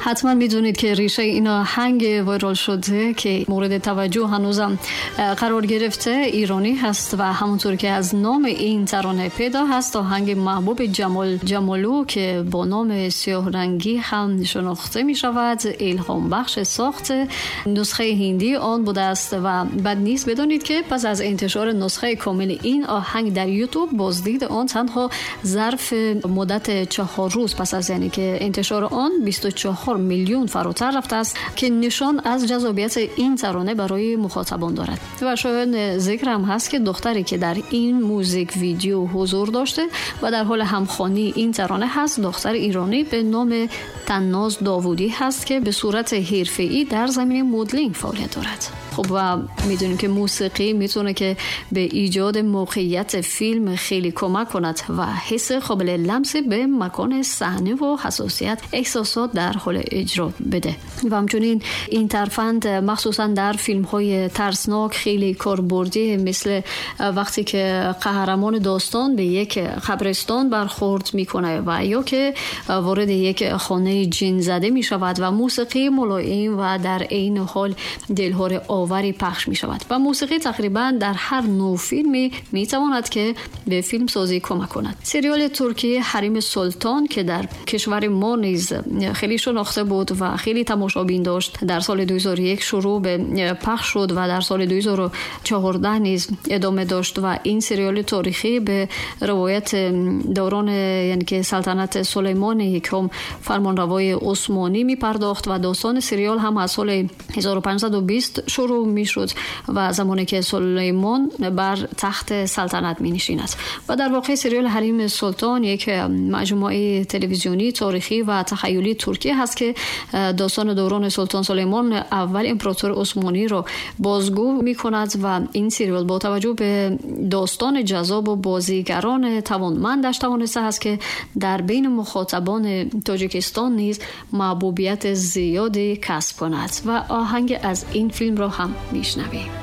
حتما میدونید که ریشه این آهنگ وایرال شده که مورد توجه هنوزم قرار گرفته ایرانی هست و همونطور که از نام این ترانه پیدا هست، آهنگ محبوب جمال جمالو که با نام سیاه رنگی هم شناخته می شود الهام بخش ساخت نسخه هندی آن بوده است. و بد نیست بدانید که پس از انتشار نسخه کامل این آهنگ در یوتیوب، بازدید آن تنها ظرف مدت 4 روز پس از یعنی که انتشار آن 24 میلیون فراتر رفته است که نشان از جذابیت این ترانه برای مخاطبان دارد. و شاید ذکر هم هست که دختری که در این موزیک ویدیو حضور داشته و در حال همخوانی این ترانه هست، دختر ایرانی به نام تناز داوودی هست که به صورت حرفه‌ای در زمینه مدلینگ فعالیت دارد. خب و میدونیم که موسیقی میتونه که به ایجاد موقعیت فیلم خیلی کمک کند و حس قابل لمس به مکان صحنه و حساسیت احساسات در حال اجرا بده. و همچنین این ترفند مخصوصا در فیلم های ترسناک خیلی کاربردی، مثل وقتی که قهرمان داستان به یک قبرستان برخورد میکنه و یا که وارد یک خانه جن زده میشود و موسیقی ملایم و در عین حال دلهره آوری پخش می شود. و موسیقی تقریبا در هر نوع فیلمی می تواند که به فیلم سازی کمک کند. سریال ترکیه حریم سلطان که در کشور ما نیز خیلی شناخته بود و خیلی تماشابین داشت، در سال 2001 شروع به پخش شد و در سال 2014 نیز ادامه داشت. و این سریال تاریخی به روایت دوران یعنی که سلطنت سلیمان یکم فرمانروای عثمانی می پرداخت و داستان سریال هم از سال 1520 شروع می شد و زمانی که سلیمان بر تخت سلطنت می نشیند. و در واقع سریال حریم سلطان یک مجموعه تلویزیونی تاریخی و تخیلی ترکیه هست که داستان دوران سلطان سلیمان اول امپراتور عثمانی را بازگو می کند. و این سریال با توجه به داستان جذاب و بازیگران توانمندش توانسته است که در بین مخاطبان تاجیکستان نیز محبوبیت زیادی کسب کند. و آهنگ از این فیلم را هم میشنویم.